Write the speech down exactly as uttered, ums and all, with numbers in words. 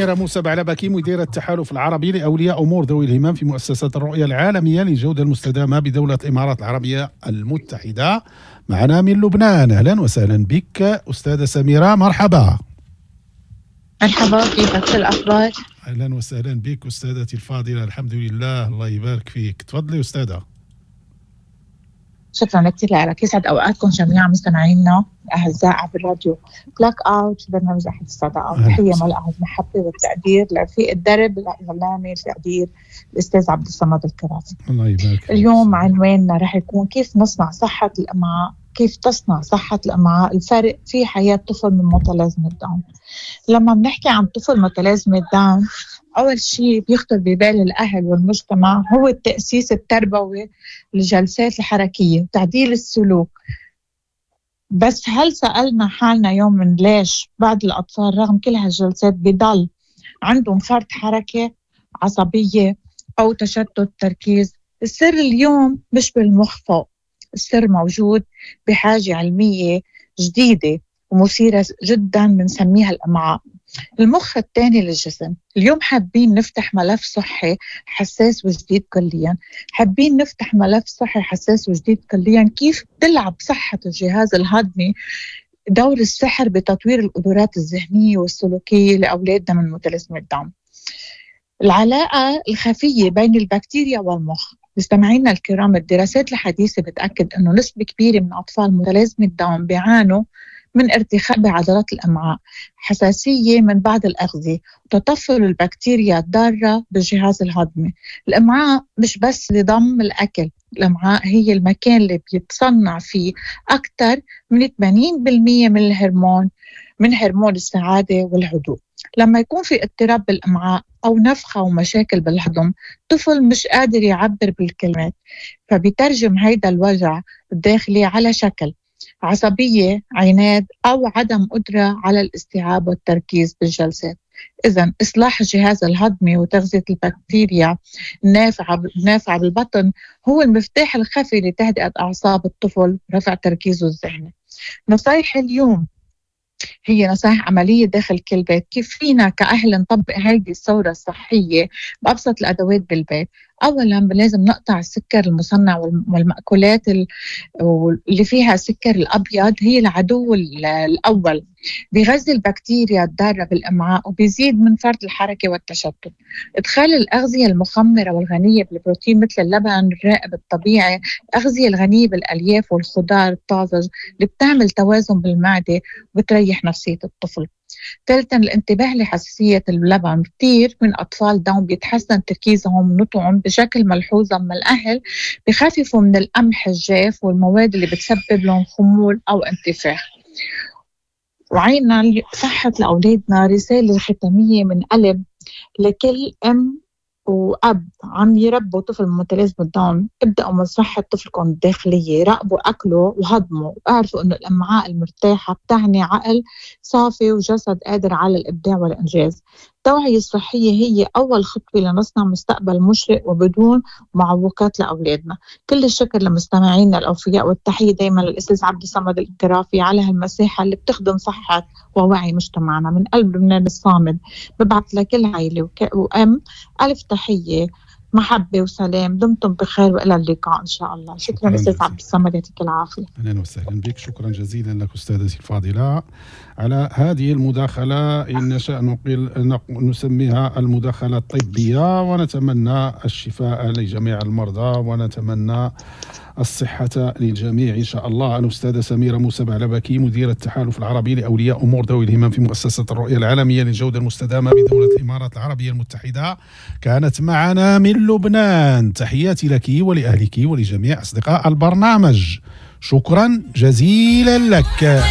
سميرة موسى بعلبكي، مديرة التحالف العربي لأولياء أمور ذوي الهمم في مؤسسة الرؤية العالمية للجودة المستدامة بدولة الإمارات العربية المتحدة، معنا من لبنان. أهلا وسهلا بك أستاذة سميرة، مرحبا. مرحبا، كيفك؟ شو الأخبار؟ أهلا وسهلا بك أستاذتي الفاضلة، الحمد لله، الله يبارك فيك. تفضلي أستاذة. شكرا كثير لك، يسعد اوقاتكم جميعا مستمعينا الاعزاء عبر راديو بلاك اوت برنامج احد الصداقات. تحية ملأها المحبة والتقدير لرفيق الدرب الاعلامي القدير الاستاذ عبد الصمد الكرافي. الله يبارك. اليوم عنواننا رح يكون كيف نصنع صحة الامعاء، كيف تصنع صحة الأمعاء الفارق في حياة طفل من متلازمة داون. لما بنحكي عن طفل متلازمة داون، أول شيء بيخطر ببال الأهل والمجتمع هو التأسيس التربوي للجلسات الحركية وتعديل السلوك. بس هل سألنا حالنا يوم من ليش بعض الأطفال رغم كل هالجلسات بضل عندهم فرط حركة، عصبية أو تشتت تركيز؟ السر اليوم مش بالمخ فوق، السر موجود بحاجة علمية جديدة ومثيرة جدا بنسميها الأمعاء، المخ الثاني للجسم. اليوم حابين نفتح ملف صحي حساس وجديد كليا، حابين نفتح ملف صحي حساس وجديد كليا، كيف تلعب صحة الجهاز الهضمي دور السحر بتطوير القدرات الذهنية والسلوكية لأولادنا من متلازمة داون. العلاقة الخفية بين البكتيريا والمخ. مستمعينا الكرام، الدراسات الحديثة بتأكد أنه نسبة كبيرة من أطفال متلازمة داون بيعانوا من ارتخاء بعضلات الأمعاء، حساسية من بعض الأغذية، وتطفل البكتيريا الضارة بالجهاز الهضمي. الأمعاء مش بس لضم الأكل، الأمعاء هي المكان اللي بيتصنع فيه أكثر من ثمانين بالمئة من الهرمون، من هرمون السعادة والهدوء. لما يكون في اضطراب بالأمعاء أو نفخة ومشاكل بالهضم، طفل مش قادر يعبر بالكلمات، فبيترجم هيدا الوجع الداخلي على شكل عصبية، عناد، أو عدم قدرة على الاستيعاب والتركيز بالجلسات. إذن إصلاح الجهاز الهضمي وتغذية البكتيريا النافعة النافعة بالبطن هو المفتاح الخفي لتهدئة أعصاب الطفل ورفع تركيزه الذهني. نصايح اليوم هي نصائح عملية داخل كل بيت، كيف فينا كأهل نطبق هذه الثورة الصحية بأبسط الأدوات بالبيت. أولا لازم نقطع السكر المصنع والمأكولات اللي فيها سكر الأبيض، هي العدو الأول، بيغذي البكتيريا الضارة بالأمعاء وبيزيد من فرط الحركة والتشتت. إدخال الأغذية المخمرة والغنية بالبروتين مثل اللبن الرائب الطبيعي، الأغذية الغنية بالألياف والخضار الطازج اللي بتعمل توازن بالمعدة وبتريح نفسية الطفل. ثالثا الانتباه لحساسية اللبن، كثير من أطفال داون بيتحسن تركيزهم ونطقهم بشكل ملحوظ لما الأهل بخففوا من القمح الجاف والمواد اللي بتسبب لهم خمول أو انتفاخ. وعينا صحة لأولادنا رسالة ختامية من قلب لكل أم وأب عم يربوا طفل متلازمة داون، ابدأوا من صحة طفلكم الداخلية، راقبوا أكله وهضمه، واعرفوا إنه الأمعاء المرتاحة بتعني عقل صافي وجسد قادر على الإبداع والإنجاز. التوعية الصحية هي أول خطوة لنصنع مستقبل مشرق وبدون معوقات لأولادنا. كل الشكر لمستمعينا الأوفياء، والتحية دايما للأستاذ عبد الصمد الكرافي على هالمساحة اللي بتخدم صحة ووعي مجتمعنا. من قلب لبنان الصامد ببعث لكل عائلة وأم ألف تحية، محبة وسلام. دمتم بخير وإلى اللقاء إن شاء الله. شكرا أستاذ عبد الصمد، يعطيك العافية. أهلا وسهلا بك، شكرا جزيلا لك أستاذتي الفاضلة على هذه المداخلة. إن نشاء نقل نسميها المداخلة الطبية، ونتمنى الشفاء لجميع المرضى ونتمنى الصحة للجميع إن شاء الله. الأستاذة سميرة موسى بعلبكي، مديرة التحالف العربي لأولياء أمور ذوي الهمم في مؤسسة الرؤية العالمية للجودة المستدامة بدولة الإمارات العربية المتحدة، كانت معنا من لبنان. تحياتي لك ولأهلك ولجميع أصدقاء البرنامج، شكرا جزيلا لك.